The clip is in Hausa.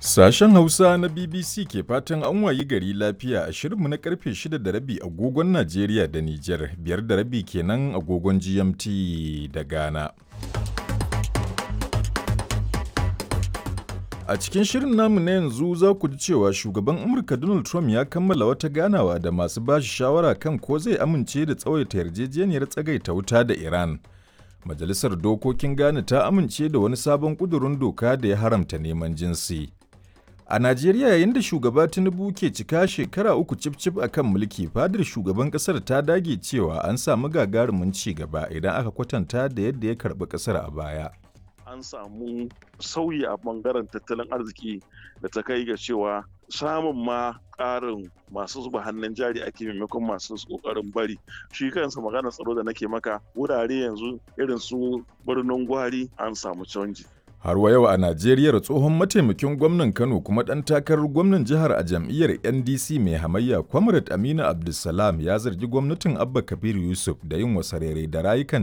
Sashen Hausa na BBC ke fatan an wayi gari lafiya a shirinmu na karfe 6:30 agogon Najeriya da Nijar, 5:30 kenan agogon GMT da Ghana. A cikin shirin namu na yanzu za ku ji cewa shugaban Amurka Donald Trump ya kammala wata ganawa da masu bashi shawara kan ko zai amince da tsawaita yarjejeniyar tsagaita wuta da Iran. Majalisar Dokokin Ghana ta amince da wani sabon ƙudurin doka da ya haramta neman jinsi. A Najeriya, yayin da shugaba Tinubu ke cika shekara 3 cif-cif a kan mulki, fadar shugaban ƙasar ta dage cewa an samu gagarumin ci gaba idan aka kwatanta da yadda ya karɓi ƙasar a baya. An samu sauyi a bangaren tattalin arziki da ta kai ga cewa samun ma ƙarin masu zuba hannun jari ake maimakon masu ƙoƙarin bari. Shi kansa maganar tsaro da nake maka, wurare yanzu irin su Birnin Gwari an samu canji. Har wa yau a Najeriya, tsohon mataimakin gwamnan Kano kuma ɗan takarar gwamnan jihar a jam'iyyar NDC mai hamayya, Comrade Aminu Abdulsalam, ya zargi gwamnatin Abba Kabir Yusuf da yin wasarere da rayukan